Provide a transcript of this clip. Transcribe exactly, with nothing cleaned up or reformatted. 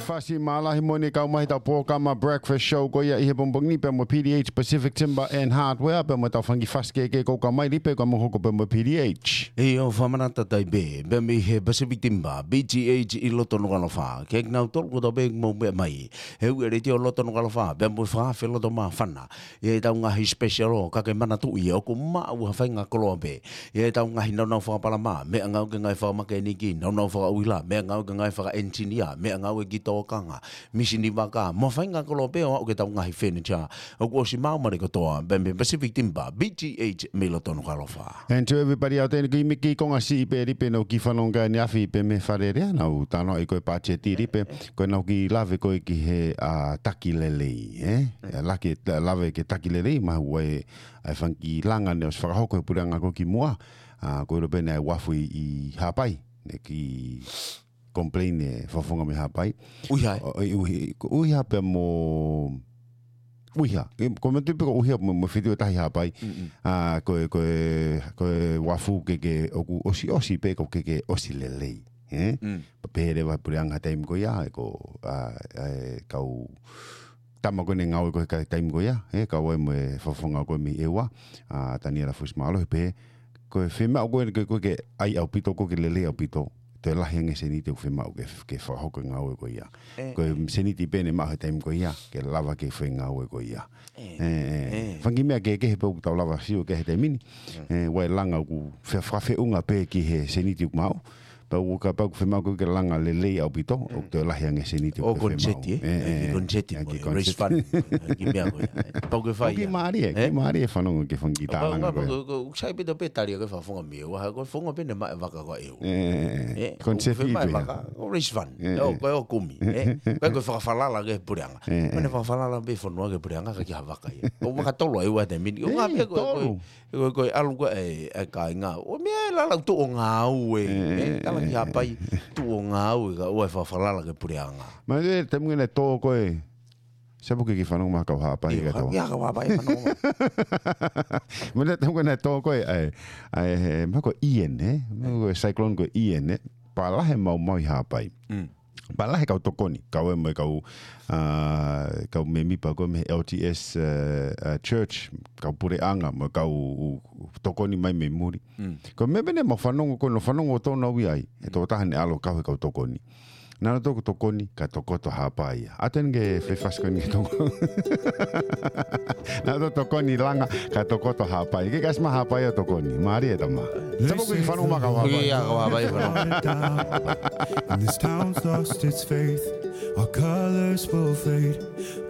Fasi mālahi mo eni kau mai ʻetau polokalama Breakfast Show ko ia ʻi he pongipongi ni pea mo P D H Pacific Timber and Hardware pea mo ʻetau fanga kiʻi fasi kehekehe ʻoku kau mai Lipe, ka mou hoko pea mo P D H. ʻIo, fakamanatu atu ai pē, pea mei he Pacific Timber, P G H ʻi loto Nukuʻalofa. Kiate kinautolu kotoa pē ʻoku mou meʻa mai he uike letiō loto Nukuʻalofa, pea mo e fakaafe loto māfana ʻi heʻetau ngaahi special, ka ke manatuʻi ʻoku maʻu ha faʻahinga koloa pē ʻi heʻetau ngaahi nāunau fakapalama, meʻangāue ki he ngaahi fakamekanikai, nāunau fakauila, meʻangāue ki he ngaahi fakaʻenisinia, meʻangāue ki he tōkanga, misini vaka, mo ha faʻahinga koloa pē ʻo aʻu ki heʻetau ngaahi furniture. ʻOku ʻosi maʻu mai kotoa pē mei Pacific Timber, P G H mei loto Nukuʻalofa. And to everybody out there, ki miki konga siʻi pē Lipe, naʻa ku kiʻi fanongo ʻaneafi pē mei Fale Alea, naʻa ku talanoaʻi ko e patiseti Lipe, ko ʻenau kiʻi lave ko ē ki he, ʻa, taki lelei, ē? ʻA, lake, lave ki he taki lelei, mahalo ʻoku ʻi ai e fanga kiʻi langa naʻe ʻosi fakahoko ʻe he puleʻanga ko ē kimuʻa, ʻa, ko e ʻilo pē naʻe uafu ʻi, ʻi Haʻapai, naʻe kiʻi complain e fakafofonga mei Haʻapai. ʻUiha, ē? ʻO, ʻi ʻUi-, ko ʻUiha pea mo ʻUiha. ʻE, ko e meʻa tui pē ko ʻUiha mo, mo Fiti ʻo tahi Haʻapai. Mm, mm. ʻA, ko e, ko e, ko e uafu ke, ke ʻoku ʻosiʻosi pē ko e ke, ke ʻosi lelei, ē? Mm. Pea pehē leva ʻe he puleʻanga he taimi ko ia, ʻe ko, ʻa, ʻa e kau tama ko ē naʻe ngāue ko ē he taimi ko ia, ē, kau ai mo e fakafofonga ko ē mei ʻEua, ʻa, Taniela Fusimālohi, pehē, ko e fiemaʻu ko ē, ko e, ko e ke ʻai ʻaupito, ko e ke lelei ʻaupito, toe lahi ange e seniti ʻoku fiemaʻu ke, ke fakahoko e ngāue ko ia. Ē, ko e ē. Seniti pē naʻe maʻu he taimi ko ia, ke lava ke fai e ngāue ko ia. Ē, ē, ē. Ē. Fanga kiʻi meʻa kehekehe pē ʻoku tau lava sio ki ai he taimi ni. Mm. Ē, ʻoku ʻi ai e langa ʻoku fe-, fakafeʻunga pē ki he seniti ʻoku maʻu. Pea ʻoku, kapau ʻoku fiemaʻu ko e ke langa lelei ʻaupito, ʻoku toe lahi ange e seniti ʻoku fiemaʻu. ʻO koniseti, ē? Ē, ē, ē. Koniseti, ʻa e kiʻi koniseti. Raise fund, ē, kiʻi meʻa ko ia, ē. Pau ke fai. ʻOku kiʻi mālie, ē? Kiʻi mālie e fanongo ki he fanga kiʻi tālanga ko ia. Pau, pau, ʻoku sai pē ʻetau pē tali ʻa e fakafofonga mei ʻEua, ko e fofonga pē naʻe maʻu e vaka ko ē ʻe ʻEua. Ē, ē, ē. Ē, koniseti ʻoku fiemaʻu e vaka, ʻo raise fund. Ē, ē. ʻO, ko e ʻo kumi, ē. Ko e, ko e fakafalala ki he puleʻanga. Ē, ē. Ko ʻene fakafalala pē fonua ki he puleʻanga ka ʻoku ʻikai ha vaka ia. ʻO vaka tolu ʻa ʻEua he taimi ni. ʻOku ʻi ai pē ko e, ko e, tolu. Ko e, ko e ʻalu ko ē ʻa e, ʻa e kāinga. ʻO meʻa e lala tuʻu ʻo ngāue, ē, ē, ē, tala ki Haʻapai, tuʻu ʻo ngāue ka ʻoku ʻi ai e fakafalala ki he puleʻanga. Mahalo ko e taimi ko ē naʻe tō ko ē, sai pē ke ke fanongo mai kau Haʻapai. ʻIo, ka tō. ʻIo, kau Haʻapai, fanongo mai. Mahalo ko e taimi ko ē naʻe tō ko ē, ʻa e, ʻa e, he, mahalo ko Ian, ē? Mahalo ko e cyclone ko Ian, ē? Pea lahi e maumau ʻi Haʻapai. Mm. Pea lahi e kau tokoni, kau ē mo e kau, ʻa, kau mēmipa ko ē mei he L T S, ē, ē, Church, kau puleʻanga, mo e kau tokoni mai mei muli. Mm. Ko e meʻa pē naʻa mau fanongo ko ē, naʻa mau fanongo ʻo tō naʻa mau ʻi ai, ʻe tō taha naʻe ʻalu ʻo kau he kau tokoni. Naʻa nau toki tokoni, kae tokoto Haʻapai ia. ʻA ʻeni ke fefasi ko eni ke toko. Naʻa nau tokoni langa, kae tokoto Haʻapai. Ke kasi mai Haʻapai ʻo tokoni. Mālie e tama. Sai pē ke ke fanongo mai kau Haʻapai. ʻIo, kau Haʻapai, fanongo. And this town's lost its faith. Our colors will fade.